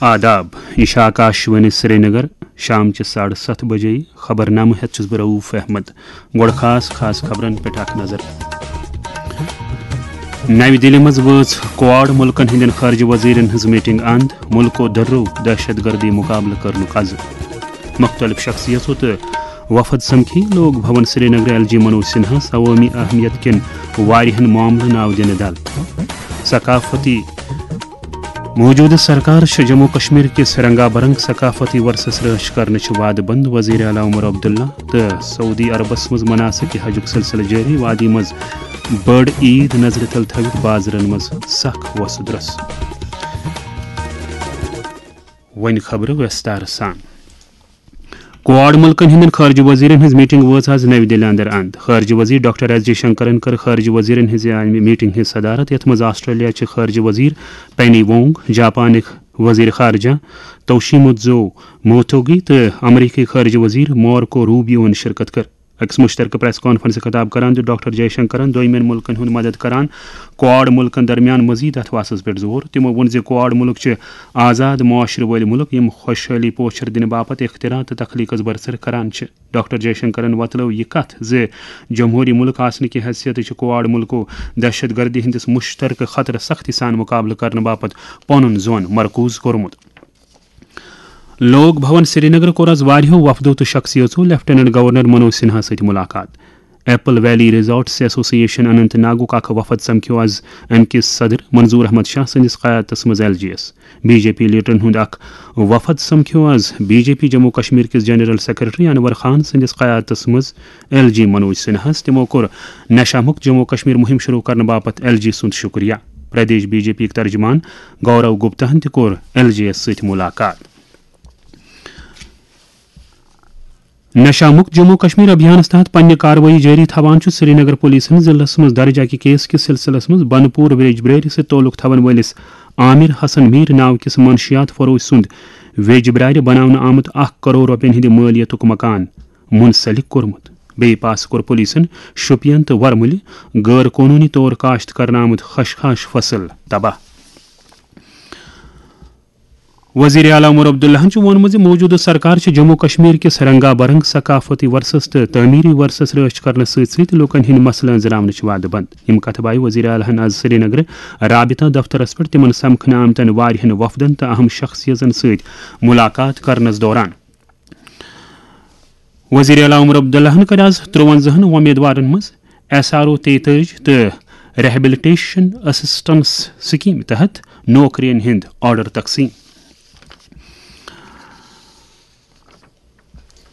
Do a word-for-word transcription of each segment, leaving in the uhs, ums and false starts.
آداب، یہِ چھِ آکاشوانی سرینگر، شام چہِ ساڑٕ ستھ بجے۔ خبرنامہٕ ہٮ۪تھ چھُس بہٕ رؤف احمد۔ گۄڈٕ خاص خاص خبرن پٮ۪ٹھ اکھ نظر۔ نَوِ دِلہِ منٛز وٲژ کواڈ مُلکن ہٕنٛدٮ۪ن خارجہ وزیرن ہٕنٛز میٹنگ اند، مُلکو دٔرٲو دہشت گردی مُقابلہٕ کرنُک عزم۔ مُختٔلِف شخصیژو تہٕ وفد سمکھی لوک بھون سرینگر۔ ایل جی منوج سنہاہس عوٲمی اہمیت کٮ۪ن واریاہن معاملن آو دِنہٕ دل۔ ثقافتی موجودٕ سرکار چھِ جموں کشمیر کِس رنگا برنگ ثقافتی ورثس رٲچھ کرنٕچ وعدٕ بنٛد۔ وزیر اعلیٰ عمر عبداللہ تہٕ سعودی عربس منٛز مناسک حجُک سلسلہٕ جٲری۔ وادی منٛز بٔڑ عیٖد نظرِ تل تھٲوِتھ بازرن منٛز سخ وۄسہٕ درۄسہٕ۔ وۄنۍ خبرٕ ویستار سان۔ کواڈ مُلکن ہٕنٛدٮ۪ن خارجہ وزیرن ہٕنٛز میٹنگ وٲژ آز نَوِ دِلہِ اندر اند۔ خارجہ وزیر ڈاکٹر ایس جے شنکرن کٔر خارجہ وزیرن ہٕنٛزِ اَمہِ میٹنگ ہٕنٛز صدارت، یتھ منٛز آسٹریلیا چہِ خارجہ وزیر پینی وونگ، جاپانٕکۍ وزیر خارجہ توشیموتزو موتوگی تہٕ امریکی خارجہ وزیر مارکو روبیوہن شرکت کٔر۔ أکِس مُشترکہٕ پریس کانفرنسہِ خطاب کران دیُت ڈاکٹر جے شنکرن دوٚیمٮ۪ن مُلکن ہُنٛد مدد کران کواڈ مُلکن درمیان مزید اتھواسس پٮ۪ٹھ زور۔ تِمو ووٚن زِ کواڈ مُلک چھِ آزاد معاشرٕ وٲلۍ مُلک، یِم خۄشحٲلی پوچھر دِنہٕ باپتھ اختراع تہٕ تخلیقس برسر کران چھِ۔ ڈاکٹر جے شنکرن وۄتلٲو یہِ کتھ زِ جمہوٗری مُلک آسنہٕ کہِ حیثیتہٕ چھِ کواڈ مُلکو دہشت گردی ہٕنٛدِس مُشترکہٕ خطرس سختی سان مُقابلہٕ کرنہٕ باپتھ پنُن زون مرکوز کوٚرمُت۔ لوک بھون سرینگر کوٚر آز واریاہو وفدو تہٕ شخصیژو لیفٹیننٹ گورنر منوج سنہا سۭتۍ ملاقات۔ ایپل ویلی ریزارٹس ایسوسی ایشن اننت ناگُک اکھ وفد سمکھیو آز امہِ کِس صدر منظور احمد شاہ سٕنٛدِس قیادتس منٛز ایل جی یس۔ بی جے پی لیڈرن ہُنٛد اکھ وفد سمکھیو آز B J P Jammu Kashmir کِس جنرل سیکرٹری انور خان سٕنٛدِس قیادتس منٛز ایل جی منوج سنہاہس۔ تِمو کوٚر نشہ مکت جموں کشمیر مُہِم شروع کرنہٕ باپتھ ایل جی سُنٛد شُکریہ۔ پردیش بی جے پی یُک ترجمان گورو گپتاہن تہِ کوٚر ایل جی یس سۭتۍ ملاقات۔ نشہ مکت جموں کشمیر ابھیانس تحت پننہِ کاروٲیی جٲری تھاوان چھُ سرینگر پولیسن ضلعس منٛز درج اکہِ کیس کِس سلسلس منٛز بنپور ویج بریری سۭتۍ تعلق تھاون وٲلِس عامر حسن میر ناو کِس منشیات فروش سُنٛد ویج برارِ بناونہٕ آمُت اکھ کرور رۄپین ہٕنٛدِ مٲلیتُک مکان منسلک کوٚرمُت۔ بیٚیہِ پاسہٕ کوٚر پولیسن شوپین تہٕ ورمُلہِ غٲر قونوٗنی طور کاشت کرنہٕ آمُت خشخاش فصل تباہ۔ وزیر اعلیٰ عمر عبداللہن چھُ ووٚنمُت زِ موجودٕ سرکار چھِ جموں کشمیر کِس رنگا برنگ ثقافتی ورثس تہٕ تعمیری ورثس رٲچھ کرنس سۭتۍ سۭتۍ لوٗکن ہٕنٛدۍ مسلہٕ أنٛزراونٕچ وعدٕ بنٛد۔ یِم کتھٕ بایہِ وزیر اعلیٰ ہن آز سرینگرٕ رابطہ دفترس پٮ۪ٹھ تِمن سمکھنہٕ آمتٮ۪ن واریاہن وفدن تہٕ اہم شخصیژن سۭتۍ ملاقات کرنس دوران۔ وزیر اعلیٰ عمر عبداللہن کٔر آز ترٛوَنزاہن وۄمیدوارن منٛز ایس آر او تیتٲجی تہٕ ریہبلٹیشن اسسٹنس سکیمہِ تحت نوکرین ہُنٛد آرڈر تقسیم۔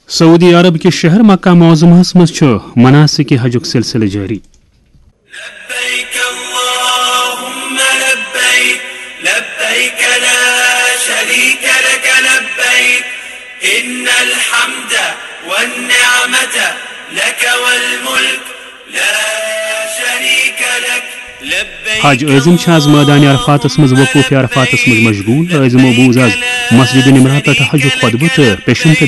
سعودی عرب کِس شہر مکہ معظمہس منٛز چھُ مناسک حجُک سلسلہٕ جٲری۔ لبيك اللهم لبيك، لبيك لا شريك لك لبيك، إن الحمد والنعمة لك والملك لا شريك لك. لبيك حج عٲزِم چھِ آز مٲدانِ عرفاتس منٛز وقوفِ عرفاتس منٛز مشغول۔ عٲزِمو بوٗز آز مسجد نمرہ پٮ۪ٹھ حجُک خطبہٕ تہٕ پیشن تہٕ